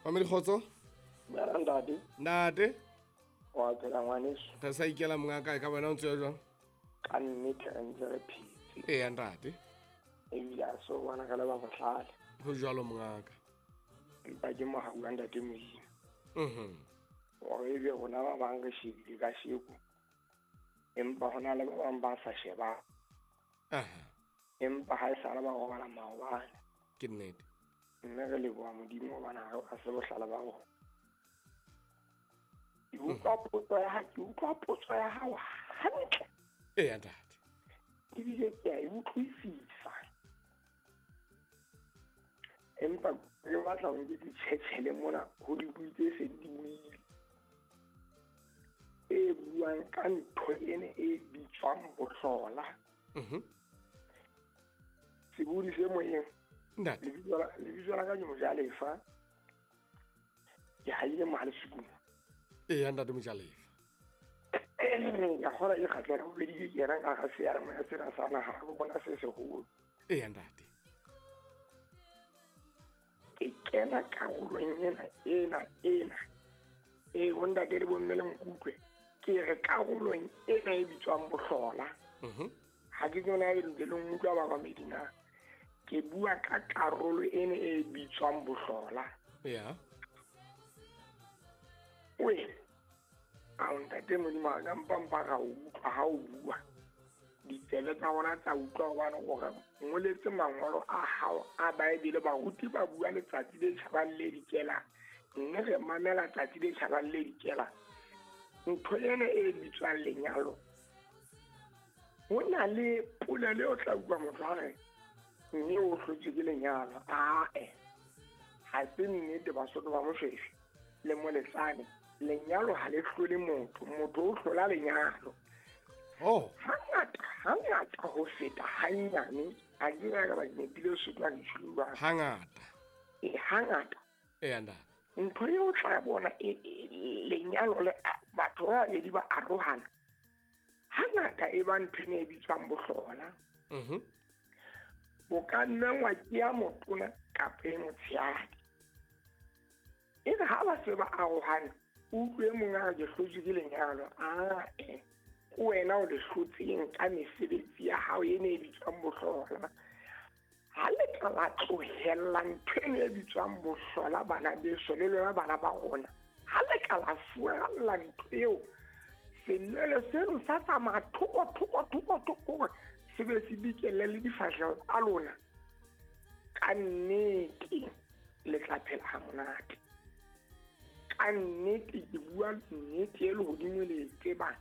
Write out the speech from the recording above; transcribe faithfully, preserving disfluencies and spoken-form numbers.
Mamedi kgotso. Dumela ntate. Ntate. Wa phela ngwaneso. Re sa ikela mongaka e ka wena o ntse jwang? Ka nnete re ntse re phetse. Eya ntate. Ebile a so bona re le ba bohlale. Ho jwalo mongaka. Empa ke mohau wa ntate Modimo. Mhm. Hore ebe rona ba bang re shebile kasheko. Empa hona le ba bang ba sa shebang. Aha. Empa ha e sale ba robala maobane. Ke nnete. Mme re leboha Modimo hobane ha re se bohlale ba rona. Ke utlwa potso ya hao, ke utlwa potso ya hao hantle. Eya ntate. Ebile ke a e utlwisisa. Empa ke batla ho nke ditjhetjhele mona ho dibui tse seng di buile. E buang ka ntho ena e bitswang bohlola. Mhm. Sebodi se moyeng. Ntate. Lebitso la, lebitso la ka ke Mojalefa. Ke haile Mohalesukumo. Eya ntate Mojalefa. Ka kgola ke kgatlela bobedi ke kena ka ga seyalemoya sena sa naha go bona se seholo. Eya ntate. Ke kena karolong ena, ena, ena. E bo ntate le bomme le nkutlwe. Ke re karolong ena e bitswang bohlola. Mhm. Ha ke tsona e le le nkutlwa ba bamedi na. Ke bua ka karolo ena e bitswang bohlola. Ya. We. A ntate Modimo a ka mpampa ra utlwa ha o bua. Ditsebe tsa rona tsa utlwa hobane o re ngoletse mangolo a hao a Bible, baruti ba bua letsatsi le tjhabang le dikelang. Mme re mamela tsatsi le tjhabang le dikelang. Ntho ena e bitswang lenyalo. Ho na le polelo eo tla utlwa motho a re mme o hlotswe ke lenyalo. Ae, ha se nnete Basotho ba Moshweshwe le Moletsane. Lenyalo ha le hlole motho, motho o hlola lenyalo. Oh. Hangata, hangata ho feta hanyane, a ke ka ba nepile Sotho a ke tjholo jwang. Hangata. E, hangata. Eya ntate. Ntho eo o tla bona e, e, lenyalo le batho ba babedi ba arohana. Hangata e ba ntho e bitswang bohlola. Mhm. Bo ka nna wa ke ya motona kapa e motshehadi. E re ha ba se ba arohana, o utlwe mong a re ke hlotswe ke lenyalo. Ae, ke wena o le hlotseng ka mesebetsi ya hao ena e bitswang bohlola. Ha le ka la tlohella ntho eno e bitswang bohlola bana beso le lona bana ba rona. Ha le ka la furalla ntho eo, senwelo seno sa tsamaya thoko, thoko, thoko, thoko hore se be se dikelle le difahleho tsa lona. Ka nnete le tla phela ha monate. Ka nnete ke bua nnete e lehodimo le e tsebang.